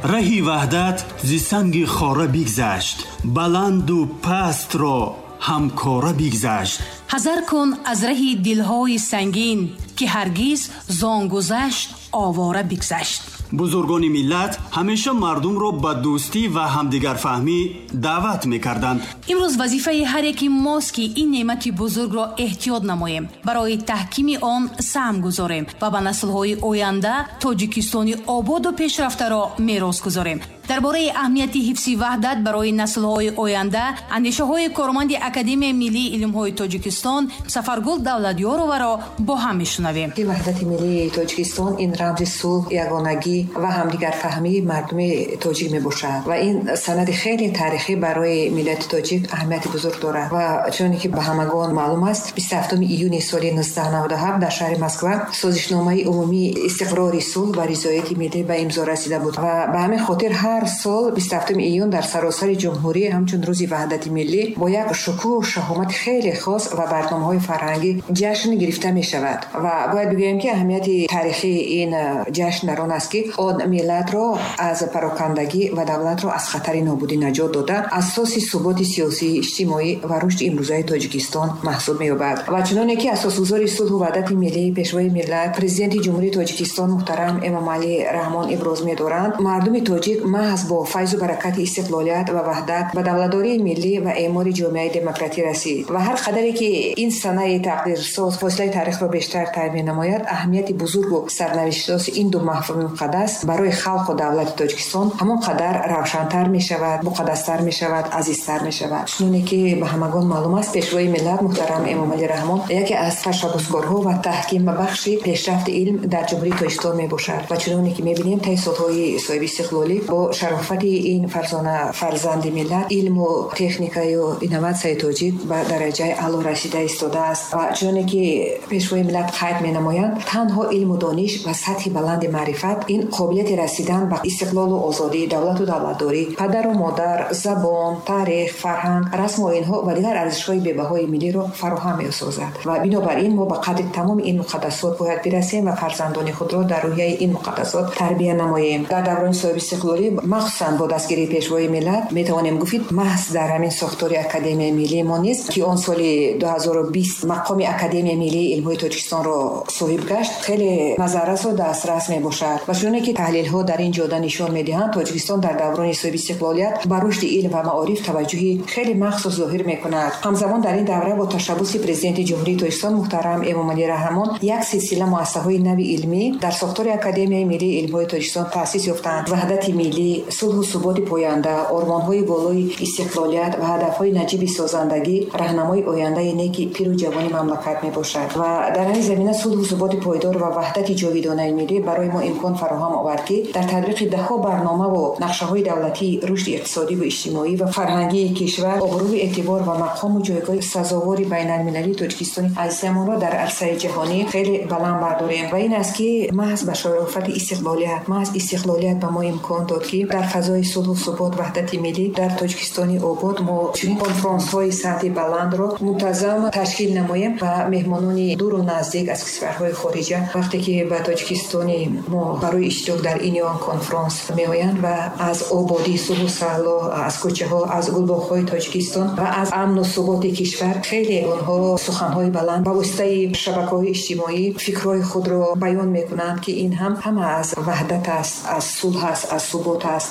Раҳи ваҳдат зи санги хора бигзашт, баланду пастро ҳамкора бигзашт. Ҳазар кун аз раҳи дилҳои сангин, ки ҳаргиз зон гузашт овора бигзашт. Бузургони миллат ҳамеша мардумро ба дӯстӣ ва ҳамдигарфаҳмӣ даъват мекарданд. Имрӯз вазифаи ҳар яки мост, ки ин неъмати бузургро эҳтиёт намоем, барои таҳкими он саҳм гузорем ва ба наслҳои оянда Тоҷикистони ободу пешрафтаро мерос гузорем. Дар бораи аҳамияти ҳифзи ваҳдат барои наслҳои оянда андешаҳои корманди Академияи миллии илмҳои Тоҷикистон Сафаргул Давлатёроваро бо ҳам мешунавем. Ваҳдати миллии Тоҷикистон ин рамзи сулҳ, ягонагӣ ва ҳамдигарфаҳмии мардуми тоҷик мебошад ва ин санади хеле таърихӣ барои миллати тоҷик аҳамияти бузург дорад. Ва чуноне ки ба ҳамагон маълум аст, 27 июни соли 1997 дар шаҳри Москва созишномаи умумии истиқрори сулҳ ва ризояти миллӣ ба имзо расида буд ва ба ҳамин хотир ҳар сол 27 июн дар саросари ҷумҳурӣ ҳамчун рӯзи ваҳдати миллӣ бо як шукӯҳу шаҳомати хеле хос ва барномаҳои фарҳангӣ ҷашн гирифта мешавад. Ва бояд бигӯем, ки аҳамияти таърихии ин ҷашн дар он аст, ки он миллатро аз парокандагӣ ва давлатро аз хатари нобудӣ наҷот дода, асоси суботи сиёсӣ, иҷтимоӣ ва рушди имрӯзаи Тоҷикистон маҳсуб меёбад. Ва чуноне ки асосгузори сулҳу ваҳдати миллӣ, пешвои миллат, президенти Ҷумҳурии Тоҷикистон муҳтарам Эмомалӣ Раҳмон иброз медоранд, мардуми тоҷик маҳз бо файзу баракати истиқлолият ва ваҳдат ба давлатдории миллӣ ва эъмори ҷомеаи демократӣ расид. Ва ҳар қадаре ки ин санаи тақдирсоз фосилаи таърихро бештар тай менамояд, аҳамияти бузургу сарнавиштсози ин ду мафҳуми муқаддас барои халқу давлати Тоҷикистон ҳамон қадар равшантар мешавад, муқаддастар мешавад, азизтар мешавад. Чуноне ки ба ҳамагон маълум аст, пешвои миллат муҳтарам Эмомалӣ Раҳмон яке аз ташаббускорҳо ва таҳкимбахши пешрафти илм дар Ҷумҳурии Тоҷикистон мебошад. Ва чуноне ки мебинем, таи солҳои соҳибистиқлолӣ бо шарофати ин фарзона фарзанди миллат илму техникаю инноватсияи тоҷик ба дараҷаи аъло расида истодааст. Ва чуноне ки пешвои миллат қайд менамоянд, танҳо илму дониш ва сатҳи баланди маърифат ин қобилияти расидан ба истиқлолу озодӣ, давлату давлатдорӣ, падару модар, забон, таърих, фарҳанг, расму оинҳо ва дигар арзишҳои бебаҳои миллиро фароҳам месозад. Ва бинобар ин мо ба қадри тамоми ин муқаддасот бояд бирасем ва фарзандони худро дар рӯҳияи ин муқаддасот тарбия намоем. Дар даврони соҳибистиқлолӣ, махсусан бо дастгирии пешвои миллат, метавонем гуфт, маҳз дар ҳамин сохтори Академияи миллии мо низ, ки он соли 2020 мақоми Академияи миллии илмҳои Тоҷикистонро соҳиб гашт, хеле назаррасу дастрас мебошад. Ва чуноне ки таҳлилҳо дар ин ҷода нишон медиҳанд, Тоҷикистон дар даврони соҳибистиқлолият ба рушди илм ва маориф таваҷҷӯҳи хеле махсус зоҳир мекунад. Ҳамзамон дар ин давра бо ташаббуси президенти Ҷумҳурии Тоҷикистон муҳтарам Эмомалӣ Раҳмон як силсила муассисаҳои нави илмӣ дар сохтори Академияи миллии илмҳои Тоҷикистон таъсис ёфтанд. Ваҳдати миллӣ, сулҳу суботи поянда, ормонҳои болои истиқлолият ва ҳадафҳои наҷиби созандагӣ раҳнамои ояндаи неки пиру ҷавони мамлакат мебошад. Ва дар ҳамин замина сулҳу суботи пойдор ва ваҳдати ҷовидонаи миллӣ барои мо имкон фароҳам овард, ки дар татбиқи даҳҳо барномаву нақшаҳои давлатии рушди иқтисодӣ ва иҷтимоӣ ва фарҳангии кишвар обрӯи эътибор ва мақому ҷойгоҳи сазовори байналмилалии Тоҷикистони азизамонро дар арсаи ҷаҳонӣ хеле баланд бардорем. Ва ин аст, ки маҳз ба шарофати истиқлолият, маҳз истиқлолият ба мо имкон дод, ки дар фазои сулҳу субот, ваҳдати миллӣ дар Тоҷикистони обод мо чунин конфронсҳои сатҳи баландро мунтазам ташкил намоем ва меҳмонони дуру наздик аз кишварҳои хориҷа вақте ки ба Тоҷикистони мо барои иштирок дар ин ё он конфронс меоянд ва аз ободии сулҳу саҳло, аз кӯчаҳо, аз гулбоғҳои Тоҷикистон ва аз амну суботи кишвар хеле онҳо суханҳои баланд ба воситаи шабакаҳои иҷтимоӣ фикрҳои худро баён мекунанд, ки ин ҳам ҳама аз ваҳдат аст, аз сулҳ аст, аз субот аст.